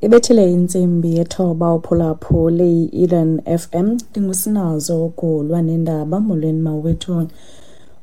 Ibethile intsimbi yethoba uphulaphule i-Eden FM. Ndingusinazo Gulwa nendaba. Molweni mawethu.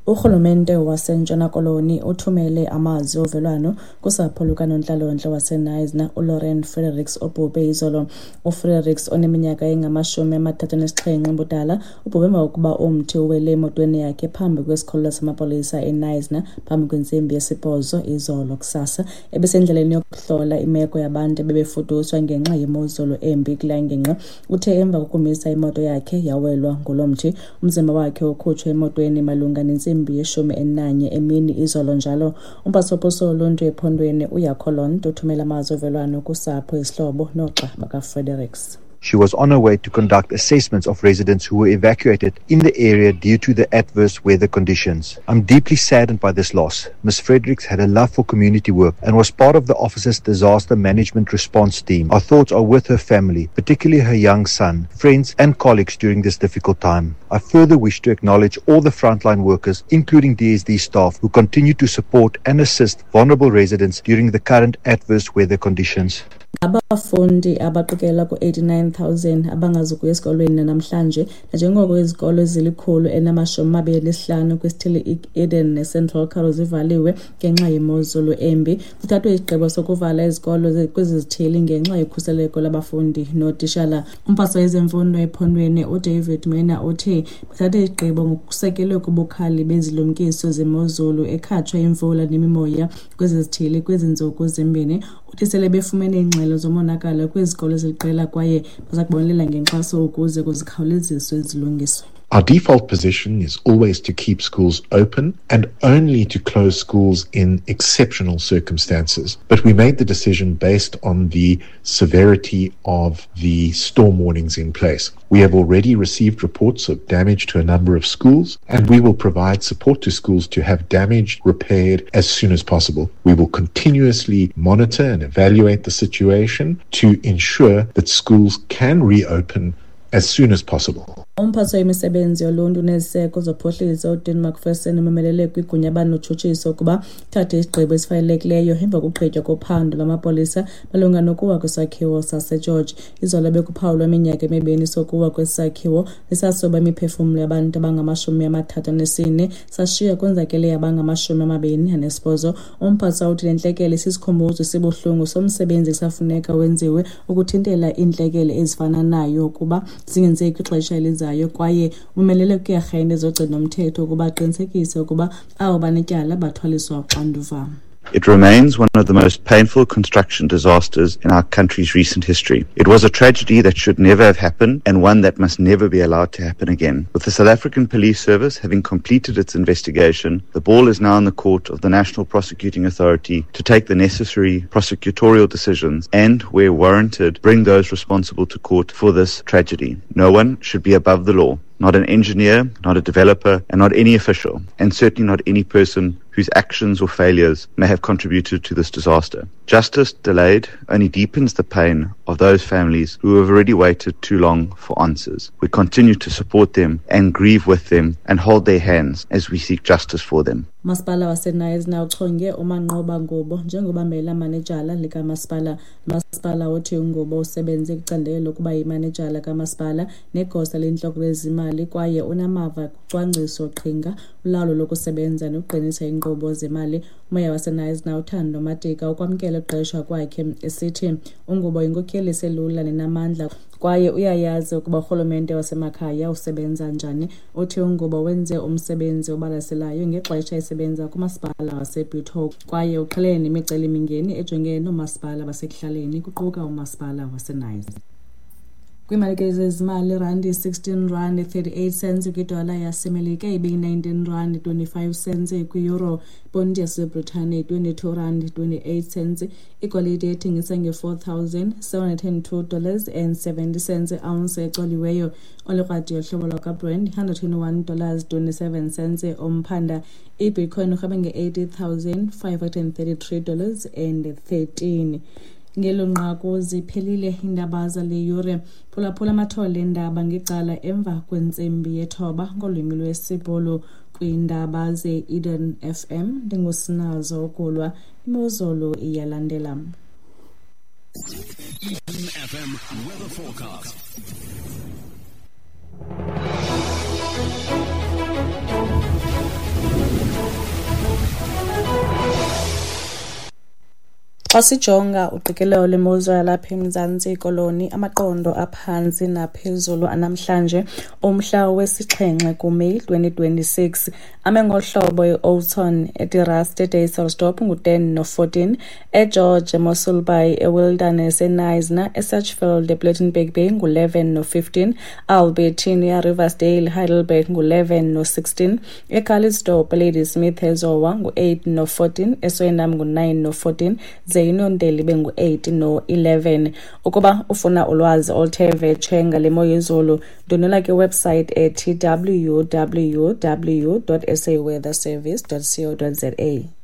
Urhulumente waseNtshona Koloni uthumele amazwi ovelwano kusapho lukanontlalontle waseKnysna uLauren Fredericks obhubhe izolo. UFredericks oneminyaka engama-37 ubudala ubhubhe emva kokuba umthi uwele emotweni yakhe phambi kwesikhululo samapolisa eKnysna phambi kwentsimbi yesibhozo izolo kusasa. Ebesendleleni yokuhlola imeko yabantu ebebefuduswa ngenxa yemozulu embi kulaa ngingqi. Uthe emva kokumisa imoto yakhe yawelwa ngulo mthi. Umzimba wakhe ukhutshwe emotweni malunga nentsimbi yeshumi elinanye emini izolo njalo. Umphathiswa woluntu ephondweni uJaco Londt uthumela amazwi ovelwano kusapho, izihlobo noogxa bakaFredericks. She was on her way to conduct assessments of residents who were evacuated in the area due to the adverse weather conditions. I'm deeply saddened by this loss. Ms. Fredericks had a love for community work and was part of the office's disaster management response team. Our thoughts are with her family, particularly her young son, friends, and colleagues during this difficult time. I further wish to acknowledge all the frontline workers, including DSD staff, who continue to support and assist vulnerable residents during the current adverse weather conditions. Abafundi abaqikela ku-89,000 abangazukuya esikolweni namhlanje nanjengoko izikolo ezili-125 kwisithili i-Eden neCentral Karoo zivaliwe ngenxa yemozulu embi. Kuthathwe isigqibo sokuvala izikolo kwezi zithili ngenxa yokhuseleko lwabafundi nootishala. Umphathiswa wezemfundo ephondweni uDavid Maina uthi bathathe isigqibo ngokusekelwe kubukhali bezilumkiso zemozulu ekhatshwa imvula nemimoya kwezi zithili kwezi ntsuku zimbini. Uthi sele befumene iingxelo zomonakalo kwizikolo eziliqela kwaye baza kubonelela ngenkxaso ukuze kuzikhawuleziswe zilungiswe. Our default position is always to keep schools open and only to close schools in exceptional circumstances. But we made the decision based on the severity of the storm warnings in place. We have already received reports of damage to a number of schools, and we will provide support to schools to have damage repaired as soon as possible. We will continuously monitor and evaluate the situation to ensure that schools can reopen as soon as possible. Umphathiswa wemisebenzi yoluntu neziseko zophuhliso uDean Macpherson umemelele kwigunya banotshutshiso ukuba ithathe isigqibo esifanelekileyo emva kokugqitywa kophando lwamapolisa malunga nokuwa kwesakhiwo saseGeorge. Izolo bekuphawulwa iminyaka emibini sokuwa kwesi sakhiwo nesasoba imiphefumlo yabantu abangama-34, sashiya konzakele abangama-28. Umphathiswa uthi le ntlekele sisikhumbuzo esibuhlungu somsebenzi ekusafuneka wenziwe ukuthintela iintlekele ezifana nayo ukuba zingenzeki kwixesha elizayo, kwaye umelele kwiiarhente zogcino-mthetho ukuba aqinisekise ukuba abo banetyala bathwaliswa uxanduva. It remains one of the most painful construction disasters in our country's recent history. It was a tragedy that should never have happened and one that must never be allowed to happen again. With the South African Police Service having completed its investigation, the ball is now in the court of the National Prosecuting Authority to take the necessary prosecutorial decisions and, where warranted, bring those responsible to court for this tragedy. No one should be above the law. Not an engineer, not a developer, and not any official, and certainly not any person whose actions or failures may have contributed to this disaster. Justice delayed only deepens the pain of those families who have already waited too long for answers. We continue to support them and grieve with them and hold their hands as we seek justice for them. Umasipala waseKnysna uchonge uManqoba Ngubo njengobambela manejala likamasipala. Umasipala uthi uNgubo usebenze kwicandelo lokuba yimanejala kamasipala negosa lentloko lezimali kwaye unamava kucwangciso qhinga, ulawulo lokusebenza nokuqinisa iinkqubo zemali. Umeya waseKnysna uThando Matika ukwamkele ukuqeshwa kwakhe, esithi uNgubo yinkokheli eselula nenamandla kwaye uyayazi ukuba urhulumente wasemakhaya usebenza njani. Uthi uNgubo wenze umsebenzi obalaselayo ngexesha esebenza kumasipala waseBitou kwaye uqhelene nemicelimingeni ejongene noomasipala basekuhlaleni, kuquka umasipala waseKnysna. Kwiimalike zezimali, irandi 16 rand 38 cents kwidola yaseMelika, ibiyi-19 rand 25 cents kwi-euro, iponti yaseBritane 22 rand 28 cents. Igolide ethengisa nge-$4,702 and 70 cents ounce ecoliweyo. Olikrwadi yohlobo lwakwaBrent $121 27 cents umphanda. Ibitcoin irhweba nge-$80,533 and 13. Ngelo nqaku ziphelile iindaba zale yure. Phulaphula amathole eendaba ngecala emva kwentsimbi yethoba ngolwimi lwesiBhulu kwiindaba ze-Eden FM. Ndingusinazo Ukulwa. Imozulu iyalandela. Eden FM weather forecast. Xa sijonga uqikelelo lwemozulu yalapha eMzantsi Koloni, amaqondo aphantsi naphezulu anamhlanje umhla wesixhenxe kuMeyi 2026 ame ngohlobo: eOughton, eDe-Rust, eDysselsdorp ngu-10 no-14, eGeorge, eMossel Bay, eWilderness, eKnysna, eSachsfield, ePlettenberg Bay ngu-11 no-15, Albertinia, Riversdale, Heidelberg ngu-11 no-16, eCalitzdorp, Ladysmith, eZowa ngu-8 no-14, eSwellnum ngu-9 no-14, ze iNondeli ibe ngu-8 no-11. Ukuba ufuna ulwazi oluthe vetshe ngale mo yezulu, ndwendwela kwiwebsite ethi www.saweatherservice.co.za.